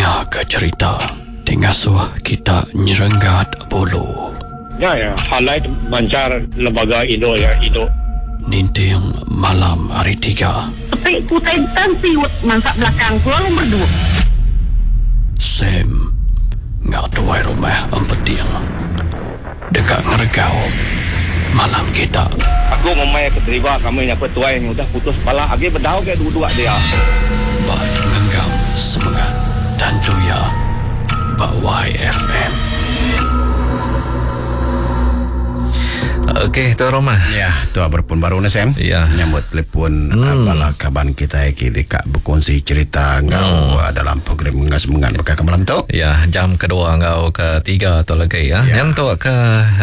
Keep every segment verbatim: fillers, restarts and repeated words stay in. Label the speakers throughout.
Speaker 1: Ninga ke cerita ti ngasuh kita nyerenggat bulu.
Speaker 2: Ya ya, highlight mancar lembaga Indo ya Indo.
Speaker 1: Ninting malam hari tiga.
Speaker 3: Sepi kutai tan siut mansak belakang pulau lumur dua.
Speaker 1: Sam ngau tuai rumah empeting deka ngeregau malam kita.
Speaker 2: Aku ngumbai ke deriba kami nya tuai udah putus pala agi bedau ke duduk dia.
Speaker 1: Ba ngenggam semengat tentu ya ba Y F M.
Speaker 4: Okey, Tuan Rumah.
Speaker 5: Ya, tuan berpun baru ni Sam.
Speaker 4: Ya.
Speaker 5: Nyambut telefon hmm. bala kaban kita ki dekat berkongsi cerita ngau hmm. dalam program ngas semengat bakal ke malam tu.
Speaker 4: Ya, jam kedua ngau ketiga tu lagi ya. Ya. Yang tu ke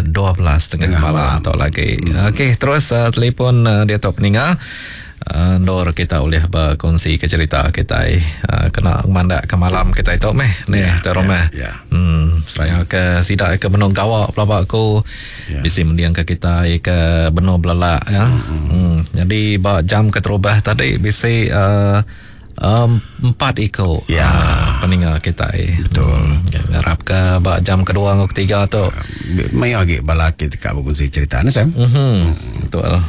Speaker 4: dua belas tengah malam, malam tu lagi. Hmm. Okey, terus uh, telefon uh, dia tu peninga. Uh, Nur kita boleh berkongsi ke cerita kita uh, kena mandak ke malam kita itu meh ni ya, Tuan Rumah.
Speaker 5: Ya, ya.
Speaker 4: Hmm, seraya ke sidak ke benung gawak pelabak aku
Speaker 5: ya.
Speaker 4: Bisi mendiang ke kita ke benung belelak ya.
Speaker 5: Hmm.
Speaker 4: Hmm. Jadi ba jam keterubah tadi bisi uh, um, empat ikut
Speaker 5: ya.
Speaker 4: uh, peninga kita.
Speaker 5: Betul.
Speaker 4: Hmm. Ngarap ke ba jam kedua ngau ketiga tu.
Speaker 5: Uh, mai lagi bala kita kat berkongsi cerita ni Sam.
Speaker 4: Mhm.
Speaker 5: Hmm.
Speaker 4: Betul.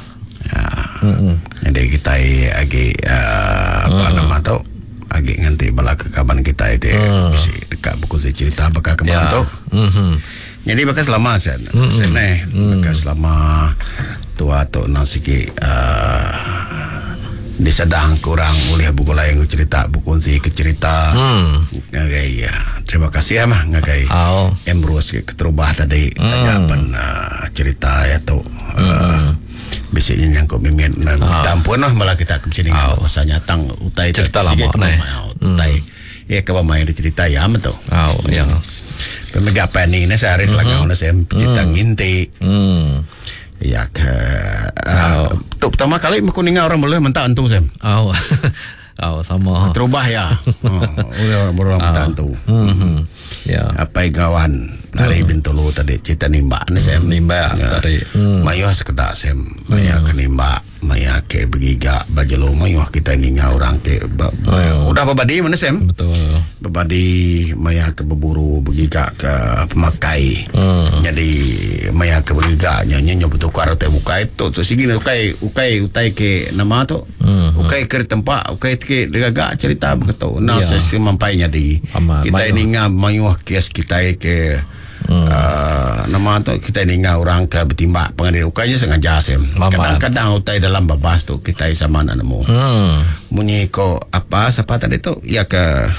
Speaker 5: Ya. Mm-hmm. Jadi kita lagi uh, apa mm. nama tu lagi nganti bala ke kaban kita itu mm. bisi dekat berkongsi cerita bakal ke malam
Speaker 4: ya.
Speaker 5: tu.
Speaker 4: Mm-hmm.
Speaker 5: Jadi bakal selama sen.
Speaker 4: Mm-hmm.
Speaker 5: Sen eh
Speaker 4: mm.
Speaker 5: bakal selama tua tu nang sikit uh, disedang kurang oleh buku lain cerita berkongsi ke cerita.
Speaker 4: Mm.
Speaker 5: Ngagai ya. Terima kasih ya mah ngagai.
Speaker 4: Oh.
Speaker 5: Emrose keterubah tadi
Speaker 4: mm.
Speaker 5: tanya pen uh, cerita ya tu.
Speaker 4: Mm.
Speaker 5: Uh, bisiknya nyangkut mimin nah,
Speaker 4: Ah.
Speaker 5: minta ampun lah malah kita ke sini
Speaker 4: Ah.
Speaker 5: dengan pasal nyatang utai
Speaker 4: Cerita lama
Speaker 5: sikit
Speaker 4: ni.
Speaker 5: utai ya ke main dia cerita ya betul.
Speaker 4: Oh, ya.
Speaker 5: Pemega pani ni sehari mm-hmm. selagau ni saya cerita mm. nginti.
Speaker 4: Hmm.
Speaker 5: Ya ke uh, tu pertama kali aku dengar orang boleh mentah antu saya.
Speaker 4: Oh. Oh, sama.
Speaker 5: Terubah ya. Oh, orang orang mentah antu.
Speaker 4: Hmm. Ya.
Speaker 5: Apa gawan dari Bintulu tadi cerita nimbak ni saya.
Speaker 4: Nimbak tadi.
Speaker 5: Hmm. Mayuh sekedak saya maya ke nimbak, maya ke bergiga bajelo mayuh kita ninga orang ke ba,
Speaker 4: Oh.
Speaker 5: udah berbadi mana Sam?
Speaker 4: Betul.
Speaker 5: Berbadi maya ke berburu bergiga ke pemakai.
Speaker 4: Hmm.
Speaker 5: Jadi maya ke bergiga nya nya bertukar utai bukai tu tu sigi ukai ukai utai ke nama tu.
Speaker 4: Hmm.
Speaker 5: Ukai ke tempat ukai ke gagak cerita begitu. Nah
Speaker 4: Ya.
Speaker 5: sesi mampai jadi.
Speaker 4: Amat.
Speaker 5: Kita
Speaker 4: Mayuh.
Speaker 5: ninga mayuh kes kita ke
Speaker 4: Hmm.
Speaker 5: Uh, nama tu kita ninga orang ke bertimbak pengadil ukainya sengaja sem.
Speaker 4: Mamat.
Speaker 5: Kadang-kadang utai dalam babas tu kita sama nak nemu.
Speaker 4: Hmm.
Speaker 5: Munyi ko apa siapa tadi tu ya ke